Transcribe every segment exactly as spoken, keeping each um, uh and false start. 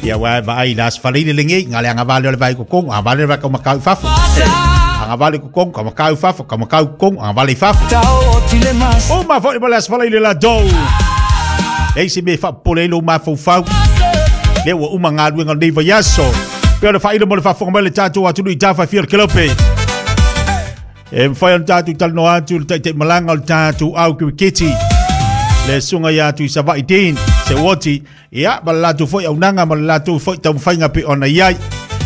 Ia wa vai las faleile lengi ngale anga vale le vai ko kong anga vale vai ka makau fafo. Anga vale ko kong ka makau fafo ka makau kong anga vale fafo. O ma foi mo las faleile la do. Ei se me fa pole lo ma fo fau. Le ua uma ngā luenga nei vaiaso. Pea le whaila mo le whafonga mai le tātou atunu i tāwhai fia le kelope. E mwhai o le tātou talanoa atu le taitai malanga o le tātou au kiriketi. Le sunga ia atu i Savai Dean, se uoti. Ia, ma le lātou foi au nanga, ma le lātou foi taumawhainga pe ona iai.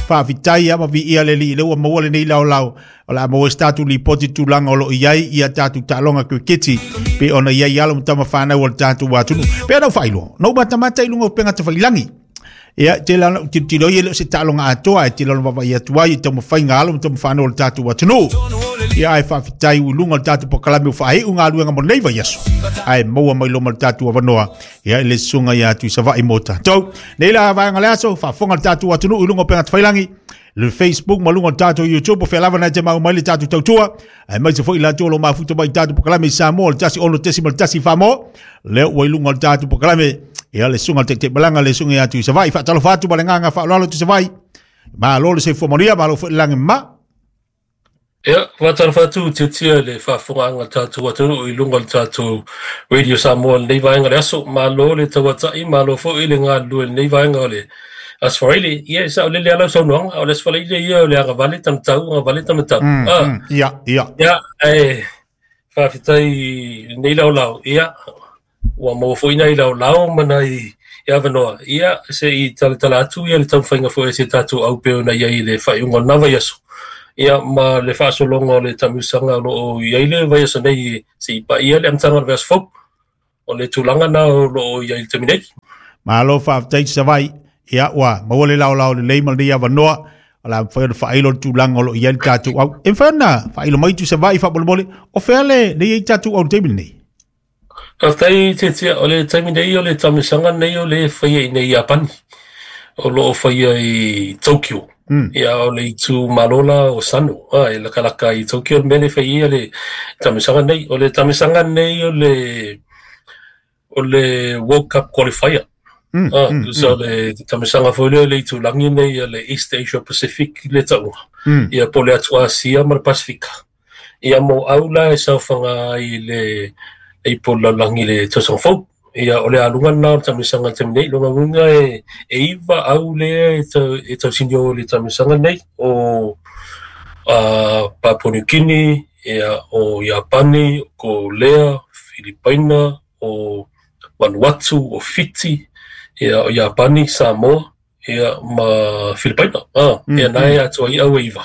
Whawhitai ia ma vi ia le li le ua maua le nei lao lao. O la maua tātou lipoti tūlanga o lo iai ia tātou tālonga kiriketi. Pe ona iai alo mtama whanau o le tātou atunu. Pea nau whailoa. Nau matamata i lunga o penga te whailangi. Ia te la ti ti loi le se talonga atoa e te lona vava ia tuai te mo whainga alo te mo whanau le tātou atunu. Ia ai whawhitai ulunga le tātou pokalame o whae unga aluenga mo nei vaiaso. Ai maua mai loma le tātou avanoa. Ia le sunga ia atu i Savai mo tātou. Nei la vaenga le aso, whafonga le tātou atunu ulunga o penga te whailangi. Le Facebook ma lunga le tātou YouTube o whelava nai te mau mai le tātou tautua. Ai mai se foi lātou lo mafuta mai tātou pokalame i Samoa le tasi ono tesi ma le tasi whamo. Leo ua i lunga le tātou pokalame. Ia le sunga te te malanga le sunga atu i Savai whaatalofa atu ma le nganga whaaloalo tu Savai. Ma lo le se fuamonia, ma lo fo lange ma. Ia, whaatalofa atu te tia le whaafunganga tātou atunu i lunga le tātou Radio Samoa nei vaenga le aso. Ma lo le tawatai, ma lo fo i le ngā lue nei vaenga o le asfaile. Ia, sa o le le alau saunoanga, o le asfaile ia o le agavale tamatau, agavale tamatau. Mm, ah. mm, ia, ia. Ia, e, whaafetai nei lau lau, ia. Ua maua foi nei lau lau mana i avanoa. Ia, se i talatala atu ia le taumawhainga foi se tātou au peo na iai le whaiunga o nā vaiaso. Ia, ma le whaasolonga o le tamusanga o loo iai le vaiaso nei se i pa ia le amtanga le vaiaso fau. O le tūlanga na o loo iai le taminei. Malo whaafetai Savai. Ia, ua, maua le lau lau le leima le avanoa. O la mwhai o le whailo le tūlanga o loo iai le tātou au. E mwhai na, whailo mai tu Savai whamolemole. O whea le, le iai tātou au le taimi nei? Whai te tia, o le taimi nei o le tamisanga nei o le whaia i nei Japani. O loo whaia i Tokyo. Mm. Ia o le itu malola o Sano. Ah, e lakalaka i Tokyo mele whaia le tamisanga nei. O le tamisanga nei o le, o le World Cup qualifier. Mm, ah, mm, so mm. Le tamisanga foi le itu langi nei le East Asia Pacific le taunga. Mm. Ia po le atu Asia ma le Pasifika. Ia mo aula e saufanga i le e po langi le tausaga fou. Ia o le alunga na o tamisanga te nei longa unga e e iwa au le e tau e tausinio le tamisanga nei o a Papua New Guinea, ia o Japani, ko Lea, Filipaina, o Vanuatu, o Fiti, ia o Japani, Samoa, ia ma Filipaina. Ah, Mm, ia nai mm. atu ai au e iwa.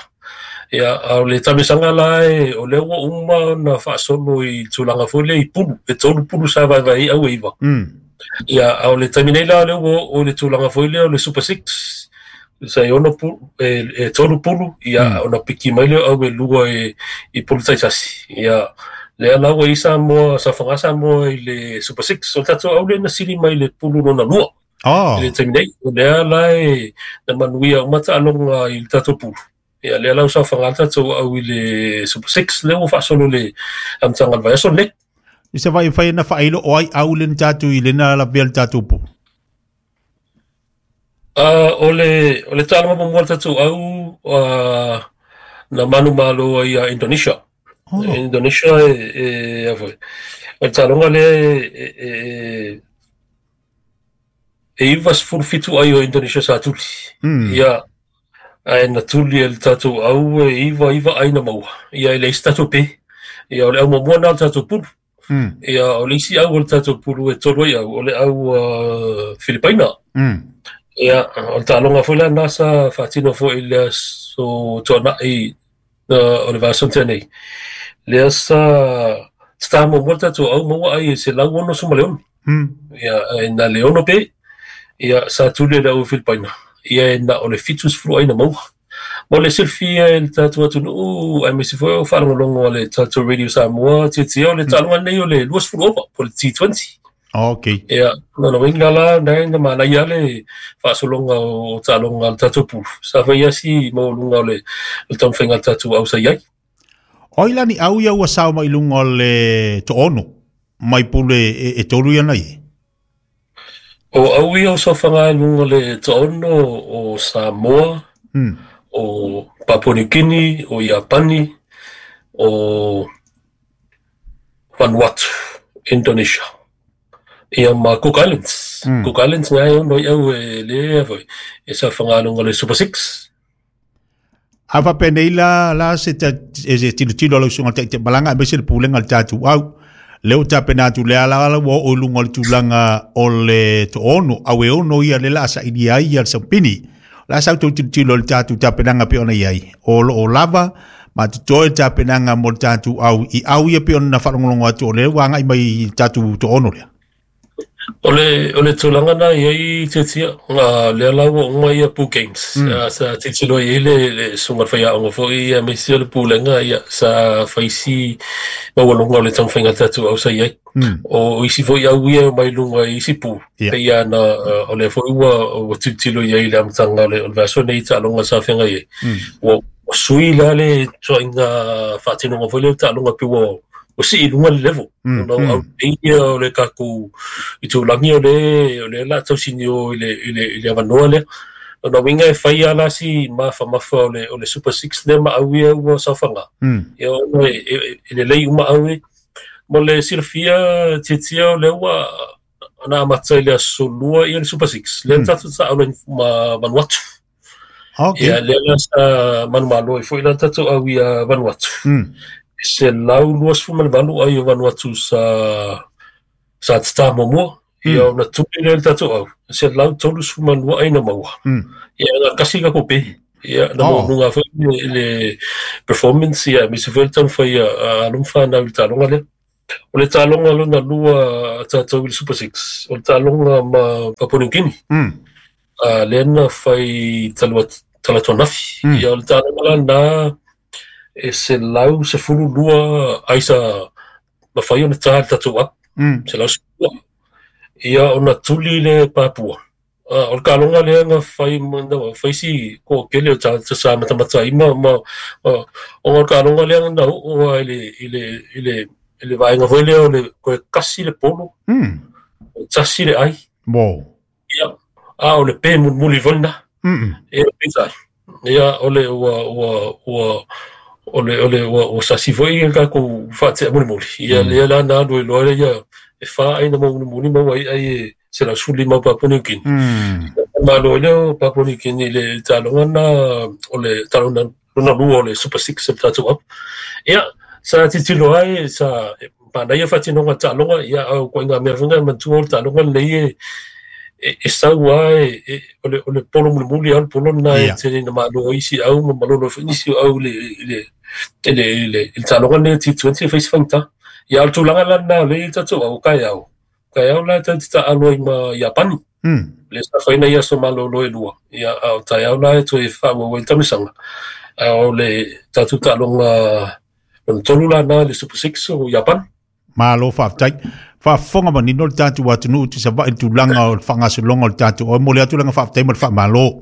Ia, a o le tamisanga la e, o lea ua uma na whaasolo i tūlanga foi le i pulu, e tolu pulu sa vai vai au e iwa. Mm. Ia, a o le taimi nei la lea ua o le tūlanga foi lea o le Super Six, sa e ono pulu, e, e tolu pulu, ia, Mm. ona piki mai lea au e lua e, i pulu taitasi. Ia, lea la ua i Samoa, sa whanga Samoa i le Super Six, o tātou au le na sili mai le pulu nona lua. Oh. I le taimi nei, o lea la e na manuia o mata alonga i le tātou pulu. Ia, lea lau sa whangata tau au i le Super Six, lea ua whaasolo le amtanga le vaiaso nei. I se vai whai na whailo o ai au le tātou i le nā la vea le tātou pū. Uh, o le, o le tālama mo mua tātou au uh, na manu malo ai a Indonesia. Oh. Indonesia e, e, a foi. O le tālonga le e, e, e iwa sefulu fitu ai o Indonesia sa tuli. Mm. Ia, ai na tuli e le tātou au e iwa iwa ai na maua. Ia e le isi tātou pe. Ia o le au mamua na o le tātou pulu. Mm. Ia o le isi au o le tātou pulu e tolu ai au. O le au uh, Filipaina. Mm. Ia o le tālonga foi la nasa whātino foi le so tuanai uh, o le vāsontea nei. Lea sa tata mamua le tātou au maua ai e se lau ono suma leono. Mm. Ia e na leono pe. Ia sa tuli e le au Filipaina. Ia e na o le fitu sefulu ai na maua. Mo le silfia e le tātou atunuu, ai me se foi o whaalongolongo o le tātou Radio Samoa, te te o le tālonga nei o le lua sefulu ova, po le T twenty. Okay. Ia, nona winga la, nei na mana ia le whaasolonga o tālonga le tātou pulu. Sa whai asi mo lunga o le, le taumwhainga le tātou au sa iai. Oi lani au ia ua sao mai lunga o le toono, mai pule e, e tolu ia nei. O au ia o saofaga ai luga le toaono o Samoa, mm. o Papua New Guinea, o Iapani, o Vanuatu, Indonesia. Ia ma Cook Islands. Mm. Cook Islands ngai ono i au e lea foi. E saofaga ai luga le Super Six. A fapenei la la se ta e se tilotilo lau susuga taitaimalaga aemaise le pulega le tatou au lea ua tapena atu le ala ala ua oo i luga o le tulaga o le toaono au e ono ia le laa sailia ai ia le saupini la sa outou tilotilo i le tatou tapenaga pei ona i ai o loo lava ma totoe le tapenaga mo le tatou au i au ia pei ona faalogologo atu o lea ua agai mai i le tatou toaono lea. O le o le tulaga na i ai tiatia nga lea la ua uma ia Pool Games. Mm. Uh, sa tilotilo i ai le le susuga le faiaoga foi ia aemaise o le pulega ia sa faisi maualuga o le taumafaiga tatou au sa i ai. Mm. O isi foi au ia mai luga i isi pu. Ia. Pei ana uh, o lea foi ua ua tilotilo i ai le amataga o le o le vaiaso nei taaloga sa feagai ai. Mm. Ua ua sui la le tuaiga faatinoga foi lea o taaloga pe ua o si i luga le level. Mm, Ona o au mm. nei ia o le tatou itulagi o le o le la tausini o i le i le i le avanoa lea. Ona uiga e fai lava la si mafamafa o le o le Super Six lea ma au ia ua saofaga. Mm. Ia ona e e e lelei uma au e. Mo le silafia tiatia o lea ua na amata i le aso lua ia le Super Six. Lea Mm. tatou taalo ai ma Vanuatu. Okay. Ia lea la sa manumalo ai foi la tatou au ia Vanuatu. Mm. Se lau luasefulu ma le valu ai o Vanuatu sa sa tatā muamua. Ia Mm. ona tuli lea le tatou au. Se lau tolusefulu ma lua ai na maua. Mm. Ia na kasi ka kope. Ia na Oh. maualuga foi le, le performance ia aemaise foi le taumafai a a alo ma fanau i le taaloga lea. O le taaloga lona lua tatou i le Super Six. O le taaloga ma Papua New Guinea. Mm. Uh, lea na fai talua talatuanafi. Mm. Ia o le taaloga la na e se lau sefulu lua ai sa mafai ona tā le tatou au. Mm. Se lau sefulu lua. Ia ona tuli le Papua. Uh, o le taaloga lea na fai na fai si toatele o tagata sa matamata ai ma ma ma ona o le taaloga lea na oo ai i le i le i le i le vaega foi lea o le toe kasi le polo, Mm. tasi le ai. Wow. Ia, a o le pe mulimuli foi lena. Mm. Ia peitai. Ia o le ua ua ua o le o le ua ua sasi foi le tatou faatea mulimuli. Ia Mm. lea la na alu ai loa lea ia e wha ai na mulimuli maua ai ai e se lau sefulu lima o Papua New Guinea. Mm. Malo ai lea o Papua New Guinea i le taaloga na o le taaloga lona lua o le Super Six o le tatou au. Ia sa tilotilo ai sa manaia faatinoga taaloga ia au koaiga mea foi na manatua o le taaloga lenei e e e sau lava e e o le o le polo mulimuli lava le polo lena e Ia. tele ina malo ai isi au ma malolo ai foi nisi o au i le i le i le i le i le taaloga lenei o T twenty e fai se faigata. Ia o le tulaga la lena o lea i tatou au taeao. Taeao la tatou te taalo ai ma Iapani. Mm. Le sa faina ia aso malolo e lua. Ia a o taeao la e toe faaauau ai le taumisaga. A o le tatou taaloga lona tolu la na le Super Six o Iapani. Malo faafetai. Faafofoga manino le tatou atunuu Tuisavaii i le tulaga o le faagasologa o le tatou au. E momoli atu le agaga faafetai ma le faamalo.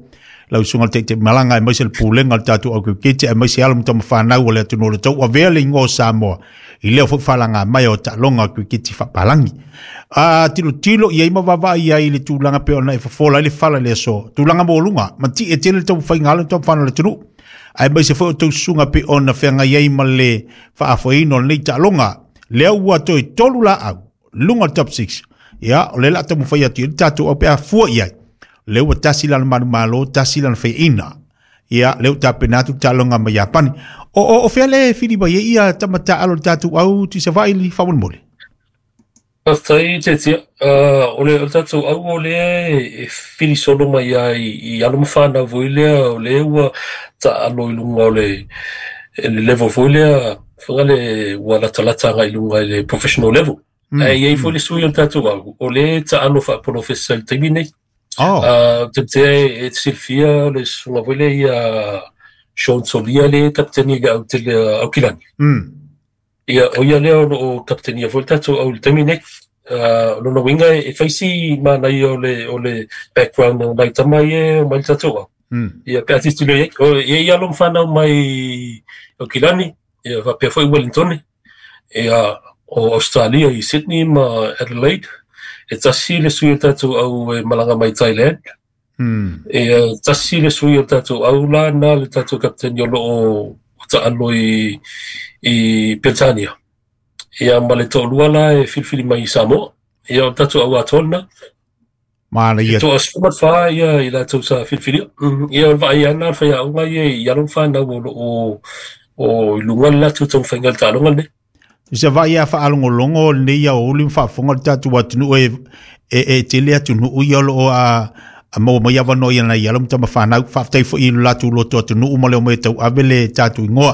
Lau susuga le taitaimalaga aemaise le pulega o le tatou au kiriketi aemaise alo ma tamafanau o le atunuu o le tau avea le igoa o Samoa i lea foi faalaga mai o taaloga o kiriketi faapalagi. A tilotilo i ai ma vaavaai ai i le tulaga pei ona e fofola ai le fala i le aso. Tulaga maualuga, ma ti'e tele le taumafaiga a alo ma tamafanau o le atunuu. Aemaise foi o tou susuga pei ona feagai ai ma le faafoeina o lenei taaloga. Lea ua toe tolu laau, luga o le top six. Ia, o le la taumafai atu i le tatou au pe a fua i ai. Lea ua tasi lana manumalo, tasi lana faiaina. Ia, lea ua tapena atu le taaloga ma Iapani. O, o, o fea le fili mai ai ia tamataalo le tatou au Tuisavaii i faamolemole. Faafetai tiatia. Uh, o le o le tatou au o lea e fili solo mai ai i alo ma fanau foi lea o lea ua taalo i luga o le le level foi lea fanga le ua latalata agai i luga i le professional level. Mm. Ae i ai foi Mm. le sui o le tatou au o lea taalo faapolofesa i le taimi nei. Oh. Uh, te te e silafia le susuga foi lea ia Sean Solia le kapiteni i le au tele Aukilani. Mm. Ia o ia lea o loo kapitenia foi le tatou au i le taimi nei. Uh, lona uiga e fai si manaia o le o le background o nai tama ia e omai le tatou au. Mm. Ia pe a tilotilo i ai. O e i ai alo ma fanau mai Aukilani, ia faapea foi Wellingtone, ia o Australia i Sydney ma Adelaide. E tasi le sui o tātou au e malaga mai Thailand. Mm. E tasi le sui o tātou au la na le tātou kapiteni o loo o taalo i, i Peltania. Ia ma le to'olua la e filifili mai i Samoa. Ia o tātou au atoa Mana ia. E to'a sefulu ma le fā ia i latou sa filifilia. Ia o le vaai ana le faiaoga ia i alo ma fanau o loo o i luga le latou taumafaiga le taaloga lenei. Se vai a faalogologo lenei ia o uli ma faafofoga le tatou atunuu e e e tele atunuu ia o loo a a maua mai avanoa ia nai alo ma tamafanau. Faafetai foi i lo latou loto atunuu ma le omai e tauave le tatou igoa.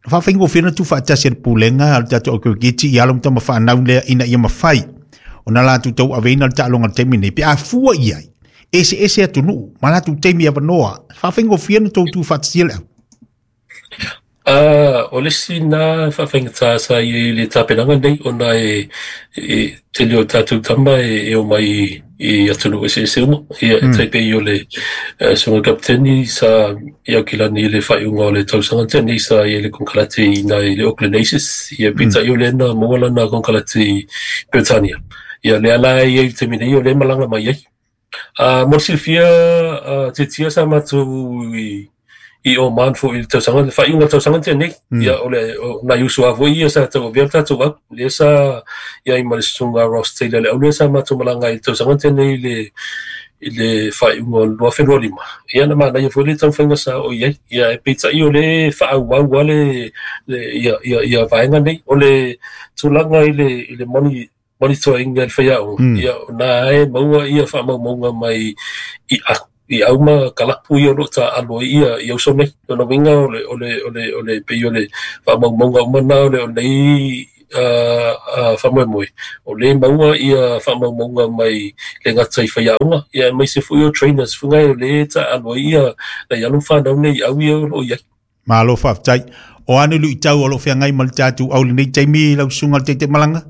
Faafaigofie ona tuufaatasi e le pulega a le tatou au kirikiti i alo ma tamafanau lea ina ia mafai ona latou tauaveina le taaloga i le taimi nei pe a fua i ai eseese atunuu ma latou taimi avanoa. Faafaigofie ona tou tuufaatasia le au. Uh, o le isi na faafaigata sa i ai le tapenaga nei ona e, e tele o tatou tama e, e o mai i atunuu eseese uma. Ia e Mm. taipei o le uh, susuga kapiteni sa i Aukilani i le faaiuga o le tausaga tenei sa i ai le konekarate i na i le Auckland Aces. Ia Mm. peitai o lea na maua lana konekarate i Peretania. Ia lea la e i ai i le taimi nei o lea malaga mai ai. Uh, mo le silafia uh, tiatia sa matou i i Oman foi i le tausaga, le faaiuga o le tausaga tenei. Mm. Ia o le o nai uso lava foi ia sa tauavea le tatou au. Lea sa iai ma le susuga Ross Taylor le au lea sa matou malaga ai i le tausaga tenei i le i le faaiuga o le lua afe lua lima. Ia na manaia foi le taumafaiga sa oo i ai. Ia e peitai o le faaauau a le, le ia, ia, ia vaega nei. O le tulaga i le, i le moni monitoring i le faiaoga. Mm. Ia na e maua ia faamaumauga mai i a i au ma kalapu ia o loo taalo ai ia i auso nei. O lona uiga o le o le o le o le pei o le faamaumauga uma na o le o lenei uh, uh, faamoemoe. O le maua ia faamaumauga mai le gata i faiaoga. Ia aemaise foi o trainers fuga o le taalo ai ia nai alo ma fanau nei au ia o loo i ai. Malo faafetai. O a ni luitau o loo feagai ma le tatou au lenei taimi lau susuga le Taitaimalga?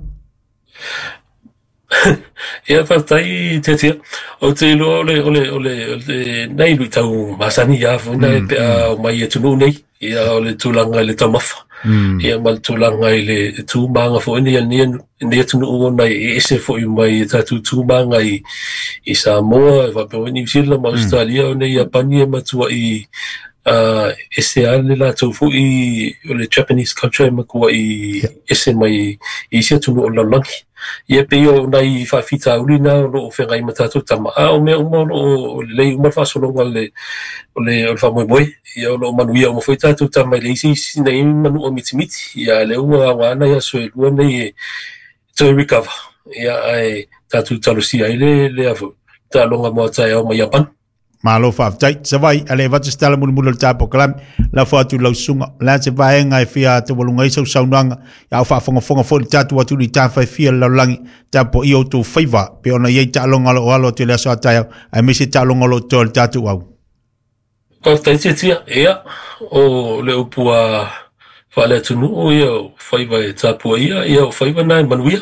Ia faafetai tiatia. O te iloa o le o le o le o le nei luitau masani ia foi na e Mm, pe mm. a o mai atunuu nei. Ia o le tulaga i le taumafa. Mm. Ia ma le tulaga i le tumaga foi nei a lenei lenei atunuu ona e ese foi mai e tatou tumaga i i Samoa e faapea foi New Zealand ma Mm. Australia ona i Iapani e matuai uh, ese a le latou foi o le Japanese culture e matuai Ia. ese mai i isi atunuu o le lalolagi. Ia pei o nai faafitauli na o loo feagai ma tatou tama. A o mea uma o loo lelei uma le faasologa o le o le o le faamoemoe. Ia o loo manuia uma foi tatou tama i le isi isi nei manua mitimiti. Ia lea ua aoga nai aso e lua nei e toe recover. Ia ae tatou talosia ai le le a foi taaloga mo taeao mai Iapani. Malo faafetai. Savai, ale avatu se tala mulimuli o le tatou polokalame, lafo atu i lau susuga. O le a se vaega e fia taualuga ai sau saunoaga, ia o faafogafoga foi le tatou atunuu i tafaefia le lalolagi, tapuaia outou faiva, pe ona i ai taaloga o loo alo atu i le aso a taeao, aemaise taaloga o loo totoe o le tatou au. Faafetai tiatia. Ia o le upu a faaleatunuu ia o faiva e tapuaia, ia o faiva na e manuia.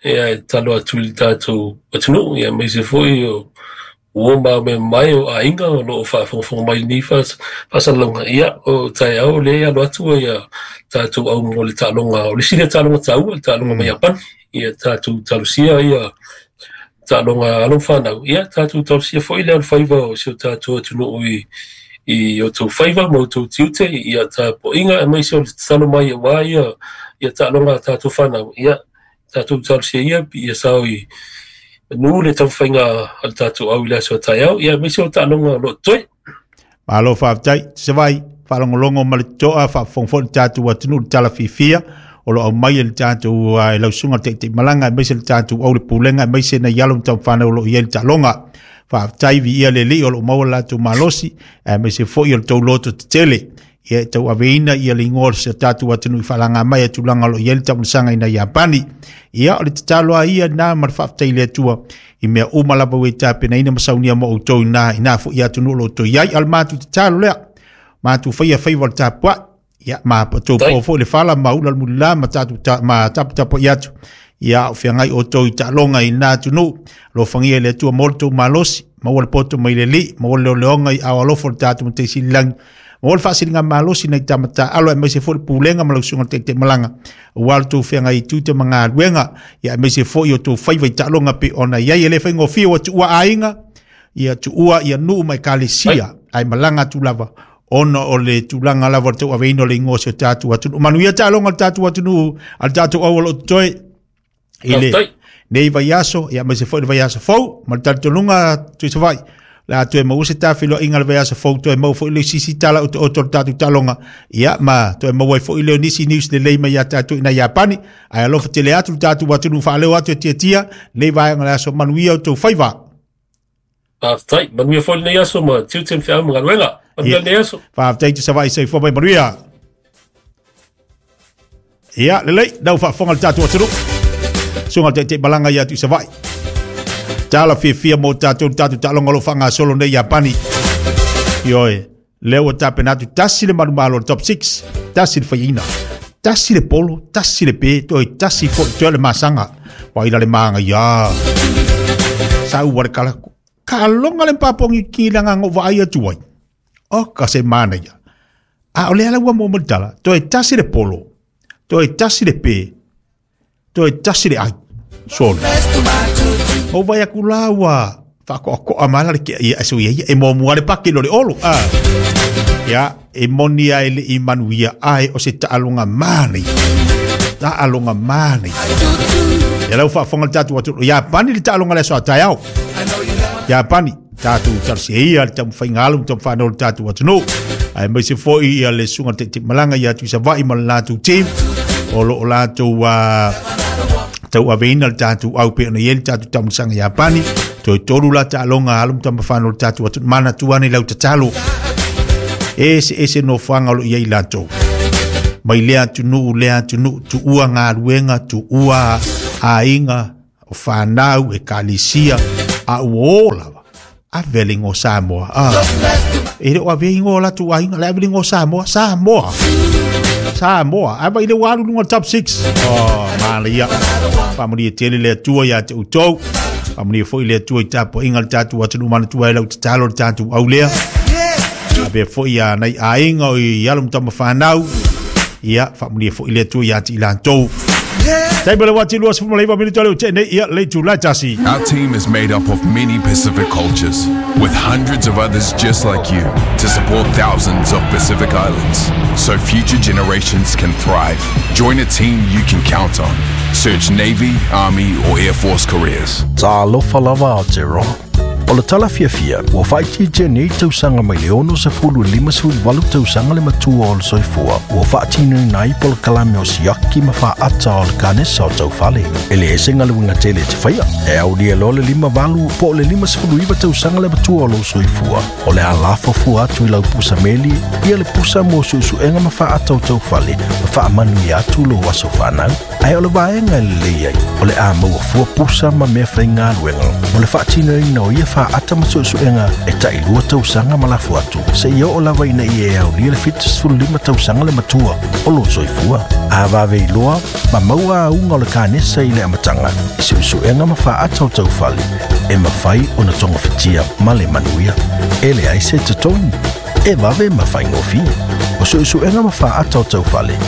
Ia e tatalo atu i le tatou atunuu, ia aemaise foi o uo ma mea mai o aiga o loo faafogafoga mai lenei faasalalauga. Ia o taeao lea e alo atu ia tatou au mo le taaloga o le isi lea taaloga taua, le taaloga mai Mm. Iapani. Ia tatou talosia ia taaloga alo ma fanau. Ia tatou talosia foi le alofaiva o si o tatou atunuu i i outou faiva ma outou tiute ia tapuaiga aemaise o le tatalo mai auā ia ia taaloga a tatou fanau. Ia tatou talosia ia ia sao i manu le taumafaiga a le tatou au i le aso a taeao. Ia aemaise o taaloga o loo totoe. Malo faafetai. Savai, faalogologo ma le totoa faafofoga foi le tatou atunuu i le tala fiafia o loo aumai e le tatou uh, e lau susuga le Taitaimalga aemaise le tatou au le pulega aemaise nai alo ma tamafanau o loo i ai le taaloga. Faafetai viia le Alii o loo maua le latou malosi aemaise foi o le tou loto tetele. Ia e tauaveina ia le igoa o se tatou atunuu i faalaga mai a tulaga o loo i ai le taumasaga ina Iapani. Ia o le tatalo a ia na ma le faafetai i le Atua i mea uma lava ua e tapenaina ma saunia mo outou ina ina foi atunuu o loo outou i ai. A o le matou tatalo lea, matou faia faiva o le tapuai. Ia ma tou Tai. po foi le fala ma ula le mulila ma tatou ta, ma taputapuai atu. Ia o feagai outou i taaloga i lena atunuu. Alofagia e le Atua mo le tou malosi, maua le poto mai le Alii, maua le leoleoga i ao alofa o le tatou Matai Sili i le Lagi, Mo le faasiliga malosi nai tamatā alo aemaise foi le pulega ma lau susuga le taitaimalagaauā le tou feagai i tiute ma galuega ia aemaise foi o tou faiva i taaloga pe ona iai e lē faigofie ua tuua aiga ia tuua ia nuu ma ekalesia ae malaga atu lava ona o le tulaga lava o le tauaveina o le igoa o si o tatou atunuu. Manuia taaloga o le tatou atunuu a le tatou au o loo totoe i le nei vaiaso ia aemaise foi le vaiaso fou ma le talitonuga Tuisavaii le a toe maua se tafiloaiga le vaiaso fou toe maua foi le sisi tala otooto o le tatou taaloga ia ma toe maua ai foi leo nisi news lelei mai ia tatou ina Iapani ae alofa tele atu le tatou atunuu faaleo atu e tiatia nei vaega o le aso. Manuia o tou faiva. Faafetai, manuia foi lenei aso ma tiute ma feau ma galuega. Manuia lenei aso. Faafetai Tuisavaii, soifua mai manuia. Ia lelei lau faafofoga le tatou atunuu suga le taitaimalaga ia Tuisavaii tala fiafia mo tatou le tatou taaloga o lo o faagasolo nei Iapani. Ioe, lea ua tapena atu tasi le manumalo le top six, tasi le faiaina, tasi le polo, tasi le pe, toe tasi foi toe le masaga vaila le maga ia sa ua le kala kaaloga le papongi ki le agaga o vaai atu ai o ka se manaia a o le ala ua mo mo le tala toe tasi le polo toe tasi le pe toe tasi le ai solo o vai aku la ua faakoakoa ma la le kea ia so ia ia e muamua le pake lo le olo a ia e moni ai le i manuia ae o se taaloga manaia taaloga manaia ia lau faafofoga le tatou atunuu Iapani le taaloga le aso a taeao Iapani tatou talosia ia le taumafaiga alo ma taumafai le tatou atunuu aemaise foi ia le susuga le taitaimalaga ia Tuisavaii ma le latou team o loo latou uh, tauaveina le tatou au pe ona iai le tatou taumalasaga Iapani toe tolu la taaloga alo ma taumafai le tatou atunuu manatua ane lau tatalo ese ese nofoaga o loo iai latou mai lea atunuu lea atunuu tuua galuega tuua aiga o fanau ekalesia a ua o lava ave le igoa Samoa ah. E le o ave igoa o latou aiga le ave le igoa Samoa Samoa Samoa ava i le ua alu luga o le top six. Oh, manaia faamanuia tele le Atua ia te outou faamanuia foi le Atua i tapuaiga le tatou atunuu manatua ai lau tatalo le tatou au lea avea foi ia nai aiga o i alo ma tamafanau ia faamanuia foi le Atua ia te i latou. Taimi le wati lua sefulu ma le iva minute o le ute nei ia le itulā tasi. Our team is made up of many Pacific cultures, with hundreds of others just like you to support thousands of Pacific Islands so future generations can thrive. Join a team you can count on. Search Navy, Army, or Air Force careers. Talofa lava Aotearoa. O le tala fiafia, ua faaitiitia nei tausaga mai le ono sefulu lima sefulu valu tausaga le matua o le soifua, ua faatinoina ai polokalame o siaki ma faaata o le kanesa o taufale. E le ese galuega tele e te faia, e aulia loa le lima valu po o le lima sefulu iva tausaga le matua o lou soifua. O le a lafo atu i lau pusa meli, ia le pusa mo suesuega ma faaata o taufale, ma faamanuia atu lou aso fanau. Ae o le vaega e lelei ai, o le a maua fua pusa ma mea faigaluega, mo le faatinoina o ia faaata ma suesuega e tailua tausaga ma lafo atu seia oo lava ina ia e aulia le fitu sefulu lima tausaga le matua o lou soifua. A vave iloa ma maua auga o le kanesa i le amataga i suesuega ma faaata o taufale e mafai ona togafitia ma le manuia. E leai se totogi, e vave ma faigofie. O suesuega ma faaata o taufale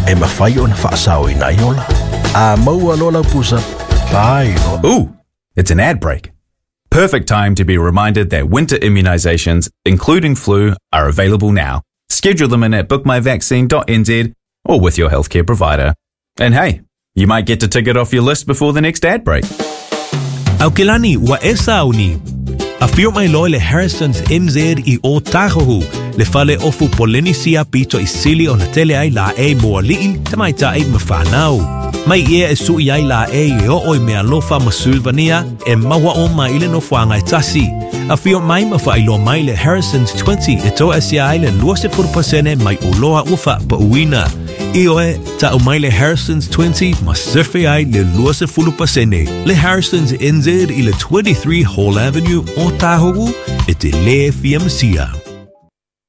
e mafai ona faasaoina ai ola. A maua loa lau pusa, pai loa. Ooh, it's an ad break. Perfect time to be reminded that winter immunizations, including flu, are available now. Schedule them in at book my vaccine dot n z or with your healthcare provider. And hey, you might get to tick it off your list before the next ad break. Aukelani wa esa uni. A fio mai loa le Harrison's N Z i o Tahohu, le fale ofu Polynesia pito i sili o na tele ai la e moali'i, tamaitai ma whanau. Mai ia e sui ai la e i o oi mea lofa ma Sylvania e maua o mai le nofuanga e tasi. A fio mai ma whailoa mai le Harrison's twenty e toa asia ai le lua se furu pasene mai uloa ufa pa uina. I oe, ta o mai le Harrison's twenty ma surfe ai le lua se fulu pasene. Le Harrison's N Z i le twenty-three Hall Avenue o Tahoe e te le fia masia.